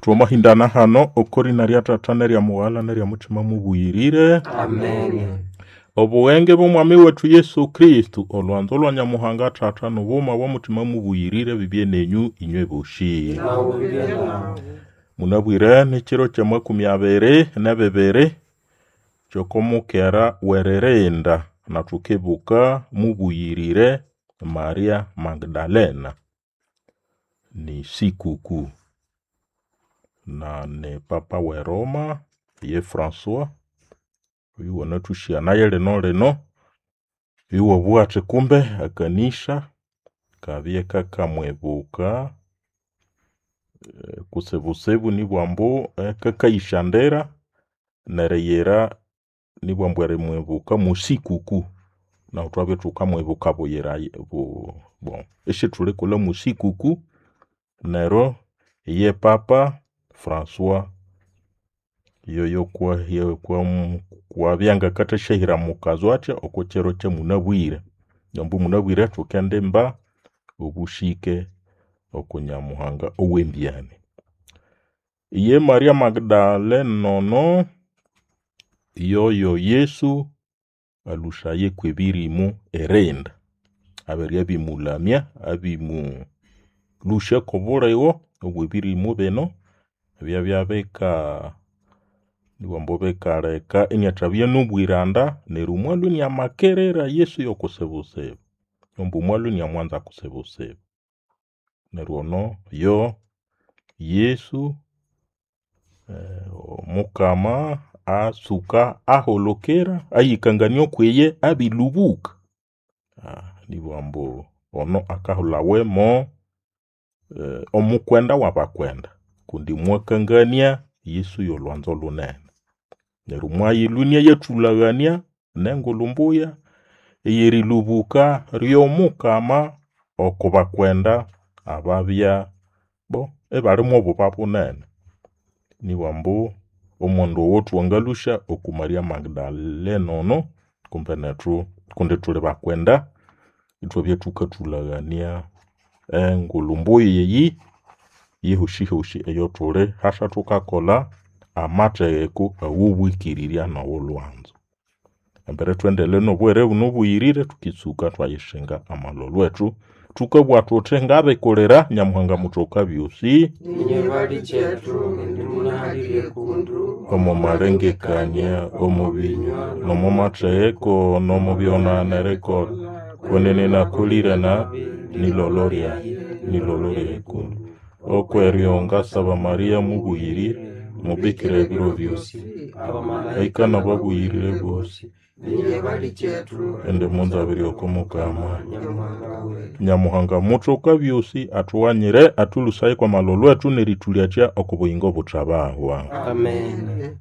Twamahindana hano okorina rya Tata nerya Mughala nerya Mutima mubuyirire. Amen. Obughenge bw'Omwami wetu Yesu Kristu, olwanzo lwa Nyamuhanga Tata n'obughuma bwa Mutima mubuyirire bibye nenyu inywe boshi. Nawe bibye nawe. Munabwire n'ekiro kya 22 ky'okwomukera w'eririnda na thukibuka mubuyirire Maria Magdalena. Ni sikukuu na ni Papa w'e Roma ye Francois oyu wanathusyanaye lino lino iwabugha athi kumbe ekanisa kabye kakamwibuka kutsibutsibu nibwa ambu kakayishandira neriyira nibwa ambu erimwibuka mwasikukuu. Nahu thwabya ithukamwibuka buyira bon isithulikolha mwasikukuu neryo iye Papa Francois yoyo kwabya ngakathasyahira mukazo athya okwa kiro kyamunabwire. Ambu munabwire thukendimba obushike oku Nyamuhanga owembyani. Iye Maria Magdalena ono yoyo Yesu alhusaye kwebirimu irinda. Abere abimulamya, abimulhusya kwobuligho obwebirimu bino ebyabya bika nibwa ambu bikaleka iniathabya nobwiranda neryo mwalhwa iniamakirira Yesu yokutsibutsibu. Ambu mwalhwa iniamwanza kutsibutsibu. Neryo ono yo Yesu Omukama atsuka aholokera ayikangania okwiye abilhubuka. Nibugha ambu ono akahulhawa mo omukwenda wabakwenda kundi mwakangania Yesu yolwanzo lhunene. Neryo mwayilhwa inayathulhaghania nengulhu mbuya eyerilhubuka ryomukama oko bakwenda ababya bo ibali mobuba bunene. Nibugha ambu omughendo owo thwangalhusya oku Maria Magdalena ono kumbe nethu kundi thuli bakwenda ithwabya thukathulhaghania engulhu mbuya eyi yehosihosi eyothuli hasa thukakolha amathegeko awobwikirirya nowolhwanzo. Embere thuendelee nobughere buno obuyirire thukitsuka thwayisinga amalholho ethu. Thukabugha thuthi ngabikulira Nyamuhanga muthoka byosi Ninye balikyetu indi munahalirye kundu omo malengekania, omo binywa, nomo mathegeko, nomo byona nerikolha. Kwenene nakolire nabi nilolho lyayi, nilolho lyayi kundu. Okweryo ngasaba Maria mubuyirire, mubikira ebiro byosi, abamalaika nababuyirire bosi, Ninye balikyetu indi munzabirye oko Mukama. Nyamuhanga wetu. Nyamuhanga muthoka byosi athughanyire athulhusaye kwamalholho ethu nerithulyakya oko buyingo obuthabahwa. Amen.